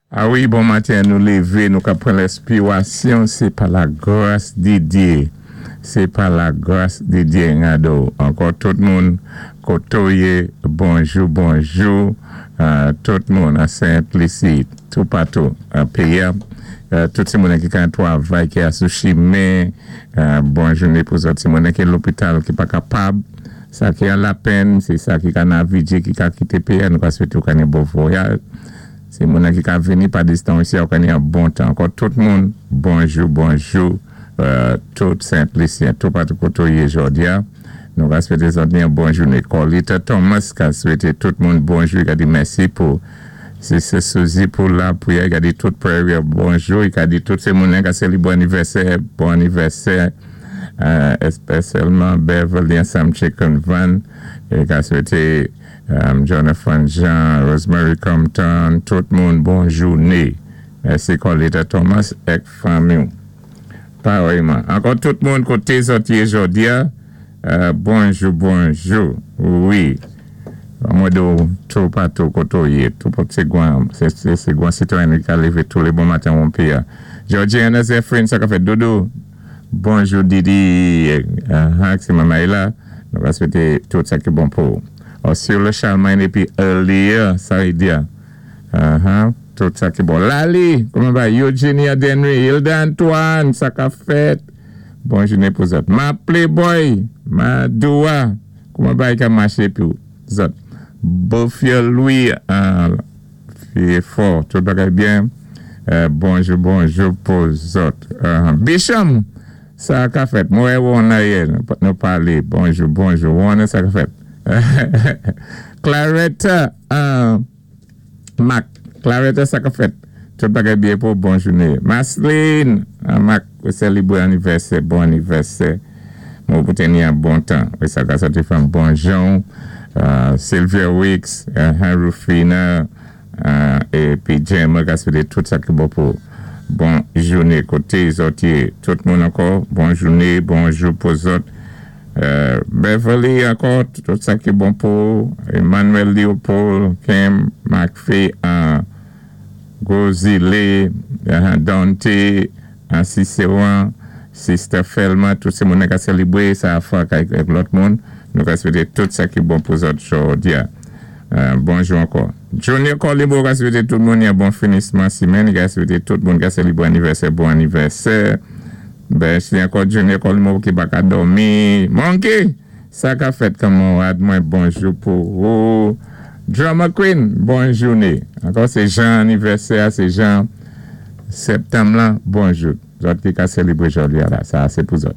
A wi, bon maten, nou lévé, nou ka pran lèspirasyon, sé pa la gras di Dyé. Sé pa la gras di Dyé, ngado. Ankò tout moun, koto yé, bonjou, bonjou, tout moun an Sent Lisi, tou patou, an péyi, tout ti moun ki ka twavay, ki a sou chimen, bon jouné pou zòt, ti moun ki lopital, ki pa kapab, sa ki an lapenn, sé sa ki ka navigé, ki ka kité péyi, nou ka swété ou ka ni bon vwayaj. Sé moun ki ka vini pa distans isi, ou ka ni an bon tan. Ankò tout moun, bonjou, bonjou, tout Sent-Lisyen, tou patou koto yé jòdi a. Nou ka swété zòt ni an bon jouné. Corlita Thomas ka swété tout moun bonjou, i ka di mèsi pou Sister Suzy pou la priyè, i ka di tout prayer bonjou, i ka di tout sé moun ka sélibwé anivèsè, bon anivèsè, espesyalman Beverly ansanm Chicken Van, i ka swété Jonathan Jean, Rosemary Compton, tout moun bon jouné. Mèsi Corlita Thomas èk fanmi. Parèyman. Ankò tout moun koté zòt yé jòdi a, bonjou, bonjou. Wi. Mwen di tou patou koto yé, tou pot sé gwan, sé gwan sitwayen ki ka lévé tou lé bon maten won péyi a. Georgiana Zephyrin, sa ka fèt doudou. Bonjou Didi, c'est maman la. Nou va swété tout sa ki bon pou. Ursula Charlemagne épi Earlier, sa vlé di. Tout sa ki bon. Lali, kouman va? Eugenia Denry, Hilda Antoine, sa ka fèt. Bon jouné pou zòt. Ma Playboy, Madoua, kouman va ka maché pou zòt? Bofia Louis, fò, tout bagay byen. Bonjou, bonjou pou zòt. Bisham, sa ka fèt. Mwen wè yé, nou palé. Bonjou, bonjou. Wona, sa ka fèt. Claretta, Mac, Claretta, sa ka fèt. Tout bagay byen pou bon jouné. Masline, Mac, sélibwé anivèsè, bon anivèsè. Mwen pou teni an bon tan. Wi, sa ka sòti fanm bon jan. Sylvia Wicks, Rufina, épi Jem, ka swété tout sa ki bon pou bon jouné koté zòt yé. Tout moun ankò, bon jouné, bonjou pou zòt. Beverly ankò, tout sa ki bon pou Emmanuel Leopold, Kim, McPhee, Gozile, Dante, Ciceron, Sister Felma, tout sé moun ka sélibwé, sa a fwa avèk lòt moun. Nou ka swété tout sa ki bon pou zòt jòdi a. Bonjou ankò. Junior Colibo ka swété tout moun yon bon finisman simenn, ka swété tout moun ka sélibwé anivèsè, bon anivèsè. Ben, si ankò Junior Colibo ki pa ka dòmi. Monkey, sa ka fèt kanmarad mwen, bonjou pou ou. Drama Queen, bon jouné. Ankò sé jan anivèsè, sé jan septanm la, bonjou. Zòt ki ka sélibwé jòdi a la, sa sé pou zòt.